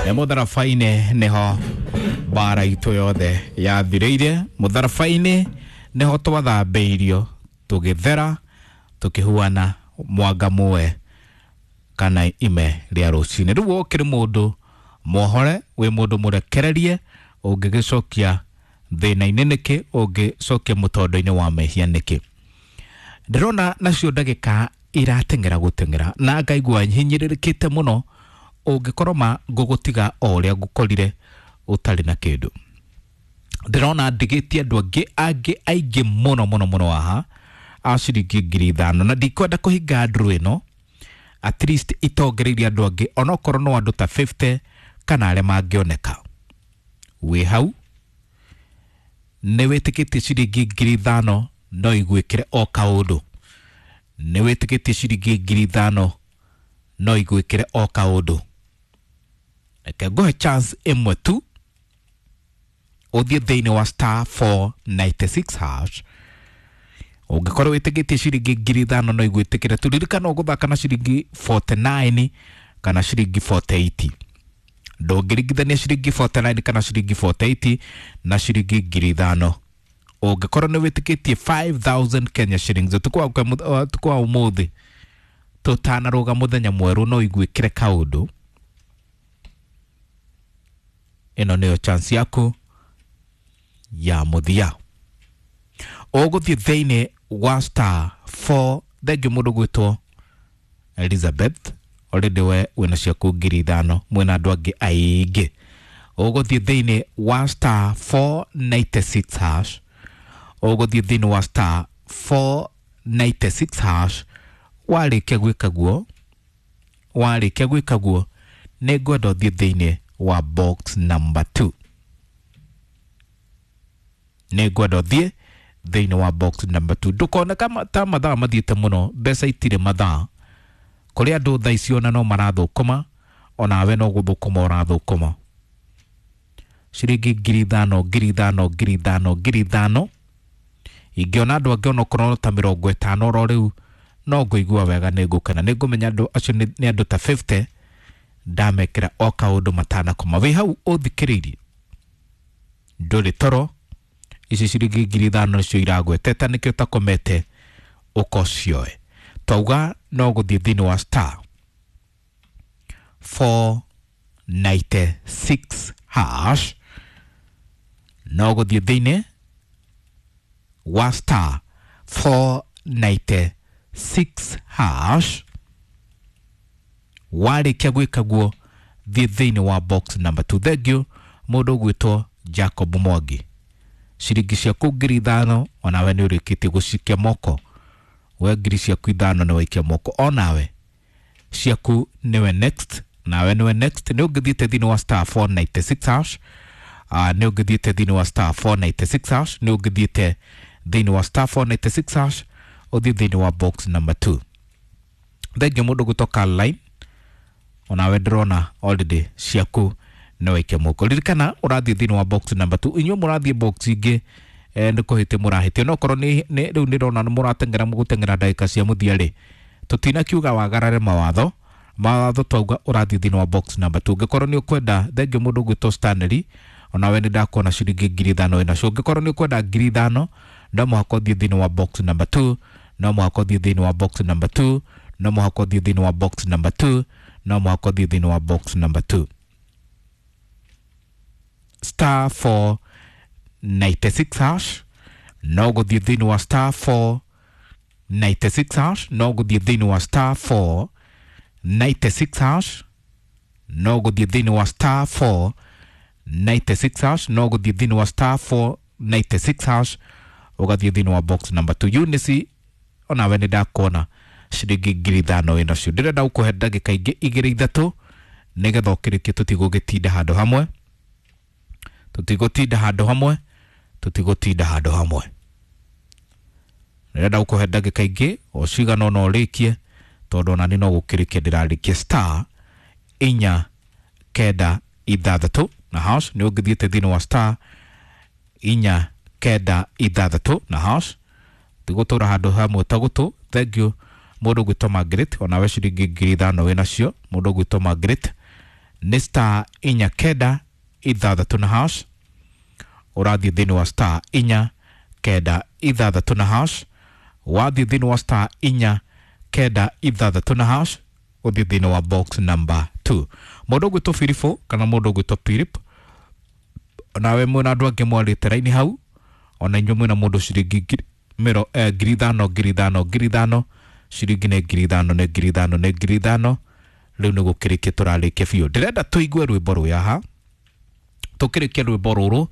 Nĩ mũtharaba-inĩ nĩho mbara itũ yothe yathirĩire. Mũtharaba-inĩ nĩho twathambĩirio tũgĩthera, tũkĩhuana mwanga muwe kana ime rĩa rũcinĩ. Rĩu ũkĩrĩ mũndũ mwohore, wĩ mũndũ mũrekererie, ũngĩgĩcokia thĩna-inĩ nĩkĩ, ũngĩcokia mũtondo-inĩ wa mehia nĩkĩ? Ndĩrona nacio ndagĩka irateng'era gũteng'era na ngaigua hinyĩrĩrĩkĩte mũno, ũngĩkorwo ma ngũgũtiga o ũrĩa ngũkorire ũtarĩ na kĩndũ. Ndĩrona ndigĩtie andũ angĩ aingĩ mũno mũno mũno haha a ciringi 5,000, na ndikwenda kũhinga nduru ĩno at least itongereirie andũ angĩ, onokorwo no andũ ta 50 kana arĩa mangĩoneka. Wĩ hau nĩ wĩtĩkĩtie ciringi 5,000 no igwĩkĩre o kaũndũ, nĩ wĩtĩkĩtie ciringi 5,000 no igwĩkĩre o kaũndũ. Reke ngũhe chance ĩmwe tu, ũthiĩ thĩinĩ wa star 496 hash. Ũngĩkorwo wĩtĩkĩtie ciringi 5,000 no igwĩtĩkĩre tu, ririkana ũgũthaka na ciringi 49 kana ciringi 48. Ndũngĩringithania ciringi 49 kana ciringi 48 na ciringi 5,000. Ũngĩkorwo nĩ wĩtĩkĩtie 5000 Kenya shillings ũtukũ wa ũmũthĩ tũtanarũga mũthenya mwerũ no igwĩkĩre kaũndũ, ĩno nĩyo chance yaku ya mũthia. Ũgũthiĩ thĩinĩ wa star 4. Thengiũ mũndũ gwĩtwo Elizabeth, already we wĩna ciaku 5,000, mwĩna andũ angĩ aingĩ. Ũgũthiĩ thĩinĩ wa star 496 hash, ũgũthiĩ thĩinĩ wa star 496 hash. Warĩkia gwĩka guo, warĩkia gwĩka guo, nĩ ngwenda ũthiĩ thĩinĩ wa box number 2. Nĩ ngwenda ũthiĩ thĩinĩ wa box number 2. Ndũkone ta mathaa mathiĩte mũno, mbeca itirĩ mathaa. Kũrĩ andũ thaa ici ona no marathũkũma, onawe no gũthũkũma ũrathũkũma. Ciringi 5,000, 5,000, 5,000, 5,000. Ingĩona andũ angĩ onokorwo ta 50 oro rĩu, no ngũigua wega, nĩ ngũkena, nĩ ngũmenya andũ acio nĩ andũ ta 50 ndamekĩra o kaũndũ matanakoma. Wĩ hau ũthikĩrĩirie, ndũrĩ toro, ici ciringi 5,000 nĩcio iragweteta, nĩkĩo ũtakomete ũkocioe. Twauga no gũthiĩ thĩinĩ wa star 496 hash, no gũthiĩ thĩinĩ wa star 496 hash. Warĩkia gwĩka guo, thiĩ thĩinĩ wa box number 2. Thengiũ mũndũ ũgwĩtwo Jacob Mwangi, ciringi ciaku 5,000 onawe nĩ ũrĩkĩtie gũcikia moko. We ngiri ciaku 5 nĩ waikia moko, onawe ciaku nĩwe next, nawe nĩwe next. Nĩ ũngĩthiĩte thĩinĩ wa star 496 hash, nĩ ũngĩthiĩte thĩinĩ wa star 496 hash, nĩ ũngĩthiĩte thĩinĩ wa star 496 hash, ũthiĩ thĩinĩ wa box number 2. Thengiũ mũndũ gũtoka line, onawe ndĩrona already ciaku nĩ waikia moko. Ririkana ũrathiĩ thĩinĩ wa box number 2. Inyuĩ mũrathiĩ box ingĩ, nĩ kũhĩtia mũrahĩtia, no korwo nĩ rĩu ndĩrona nĩ mũrateng'era, mũgũteng'era ndagĩka cia mũthia rĩ, tũtinakiuga wagarare mawatho. Mawatho twauga ũrathiĩ thĩinĩ wa box number 2. Ũngĩkorwo nĩ ũkwenda, thengiũ mũndũ ũgwĩtwo Stanley, onawe nĩ ndakuona ciringi 5,000 wĩnacio. Ũngĩkorwo nĩ ũkwenda 5,000, no mũhaka ũthiĩ thĩinĩ wa box number 2, no mũhaka ũthiĩ thĩinĩ wa box number 2, no mũhaka ũthiĩ thĩinĩ wa box number 2, no mũhaka ũthiĩ thĩinĩ wa box number 2. Star 496 hash, no gũthiĩ thĩinĩ wa star 496 hash, no gũthiĩ thĩinĩ wa star 496 hash, no gũthiĩ thĩinĩ wa star 496 hash, no gũthiĩ thĩinĩ wa star 496 hash, ũgathiĩ thĩinĩ wa box number 2. Eunice, onawe nĩ ndakuona ciringi 5,000 wĩnacio. Ndĩrenda gũkũhe ndagĩka ingĩ 2 3 nĩgetha ũkĩrĩkie, tũtigũgĩtinda handũ hamwe, tũtigũtinda handũ hamwe, tũtigũtinda handũ hamwe. Ndĩrenda gũkũhe ndagĩka ingĩ o cigana ũna ũrĩkie, tondũ ona niĩ no gũkĩrĩkia ndĩrarĩkia. Star 4 9 6 na hash, nĩ ũngĩthiĩte thĩinĩ wa star 4 9 6 na hash, tigũtũra handũ hamwe ta gũtũ. Thengiũ mũndũ ũgwĩtwo Margaret, onawe ciringi 5,000 wĩnacio. Mũndũ ũgwĩtwo Margaret Nĩ star inya kenda ithathatũ na hash. Ũrathiĩ thĩinĩ wa star inya kenda ithathatũ na hash. Wathiĩ thĩinĩ wa star inya kenda ithathatũ na hash, ũthiĩ thĩinĩ wa box number 2. Mũndũ ũgwĩtwo Filipo kana mũndũ ũgwĩtwo Philip, nawe mwĩna andũ angĩ mwarĩte raini hau, ona inyuĩ mwĩna mũndũ ciringi 5,000 5,000 5,000, ciringi nĩ 5,000 nĩ 5,000 nĩ 5,000. Rĩu nĩ gũkĩrĩkia tũrarĩkia biũ. Ndĩrenda tũigue rwĩmbo rũya ha tũkĩrĩkia rwĩmbo rũrũ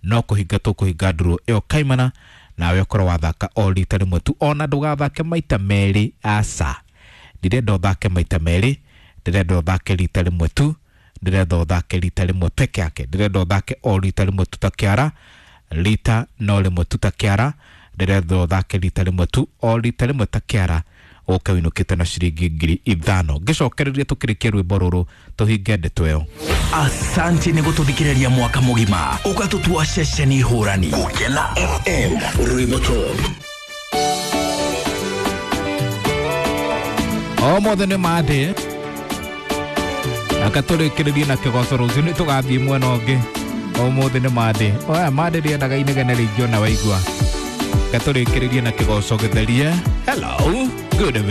no kũhinga tũkũhinga ndũrũ ĩyo kaimana, nawe ũkorwo wathaka o rita rĩmwe tu, ona ndũgathake maita merĩ, aca. Ndirenda ũthake maita merĩ, ndĩrenda ũthake rita rĩmwe tu, ndĩrenda ũthake rita rĩmwe peke yake, ndĩrenda ũthake o rita rĩmwe tu ta kĩara, rita no rĩmwe tu ta kĩara, ndĩrenda ũthake rita rĩmwe tu, o rita rĩmwe ta kĩara, ũke ũinũkĩte na ciringi 5,000. Ngĩcokereria tũkĩrĩkia rwĩmbo rũrũ tũhinge ndeto ĩyo. Asante nĩ gũtũthikĩrĩria mwaka mũgima ũgatũtua ceceni hũrani. Gũkena FM, rwĩmbo top. O mothe nĩ mandĩ akatũrĩkĩrĩrie na kĩgoco rũciũ nĩ tũgathiĩ mwena ũngĩ. Ũmũthĩ nĩ mandĩ oya mandĩ rĩendaga inegene rĩingĩ ona waigua. Gatũrĩkĩrĩrie na kĩgoco gĩtherie. Hello, good evening.